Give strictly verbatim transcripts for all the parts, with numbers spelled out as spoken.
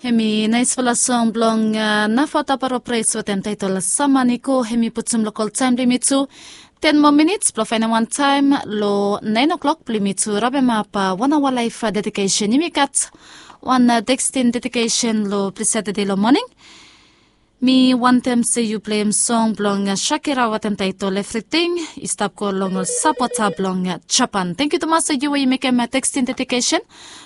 Hemi naisfala song blong nafa taparo pres wetem taitol Samaniko. Hemi putum lokol taem blong yumi tu ten moa minits blong faenem wantaem long naen oklok blong yumi tu rabemap wan aoa laef dedikesen. Yumi gat wan tekstin dedikesen long plis ya tede long moning. Mi wantem se yu pleim song blong Shakira wetem taitol Evriting. I stap go long ol sapota blong Japan. Tangkiu tumas long yu we yu mekem tekstin dedikesen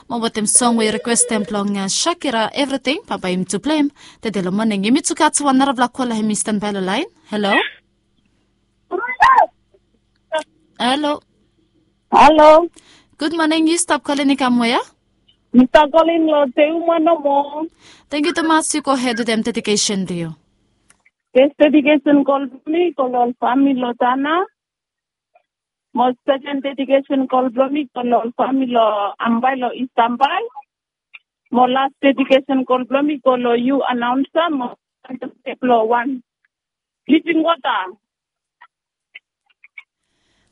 mo wetem song we yu rikwestem blong Shakira Evriting. Bambae yumi tu pleim tede long moning. Yumi tu gat wan narafala kola hemi stanbae long laen. Halo. Halo. Halo. Gud moning. Yu stap kolin i kam wea? Mi stap kolin long Teuma nomo. Tangkiu tumas. Yu gohed wetem dedikesen blong yu. Fes dedikesen kol blong mi go long ol famili long Tana. Mo seken dedikesen kol blong mi go long ol famili long Ambae long Ist Ambae. Mo las dedikesen kol blong mi go long yu anaonsa mo blong wan Living Water.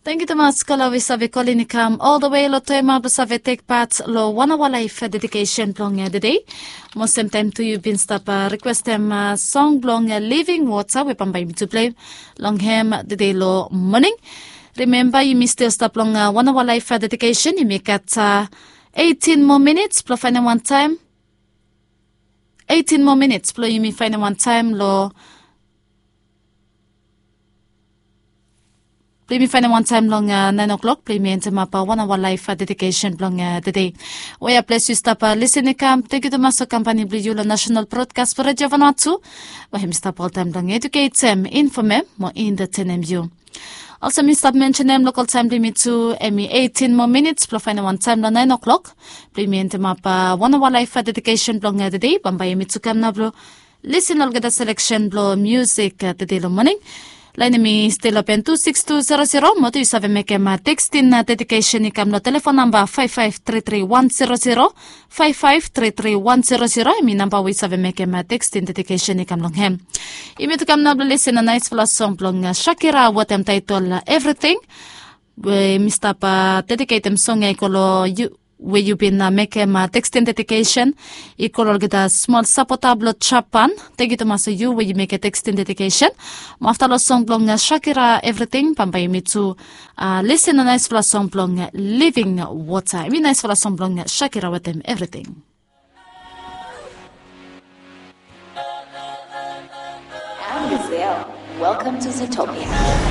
Tangkiu tumas kola we yu save kolin i kam ol the way long Teuma blong save tek pat long wan aoa laef dedikesen blong tede. Mo semtaem tu yu bin stap rikwestem song blong Living Water we bambae yumi tu pleim long hem tede long moning. Rimemba yumi stil stap long wan aoa laef dedikesen. Yumi gat eitin moa minits blong faenem wantaem. Eitin moa minits blong yumi faenem wantaem long blong yumi faenem wantaem long naen oklok blong yumi endemap wan aoa laef dedikesen blong tede. Wea ples yu stap lisin i kam, tangkiu tumas long kampani blong yu long Nasenal Brodkas blong Redio Vanuatu we hemi stap oltaem blong eduketem, infomem mo entetenem yu. Olsem mi stap mensenem, lokol taem blong yumi tu hemi eitin moa minits blong faenem wantaem long naen oklok blong yumi endemap wan aoa laef dedikesen blong tede. Bambae yumi tu kam nao blong lisin olgeta seleksen blong miusik tede long moning. Laen hemi stil open tu siks tu zero zero. Mo tu yu save mekem tekstin dedikesen i kam long telefon namba faef faef tri tri wan zero zero. Faef faef tri tri wan zero zero hemi namba we yu save mekem tekstin dedikesen i kam long hem. Yumi tu kam nao blong lisin long naesfala song blong Shakira wetem taetol Evriting. We mi stap dediketem song ya i go long yu we yu bin mekem tekstin dedikesen. I go long olgeta smol sapota blong Japan. Tangkiu tumas long yu we yu mekem tekstin dedikesen. Mo afta long song blong Shakira Evriting, bambae yumi tu lisin long naesfala song blong Living Water. Hemi naesfala song blong Shakira wetem Evriting. I'm Gazelle. Welcome to Zootopia.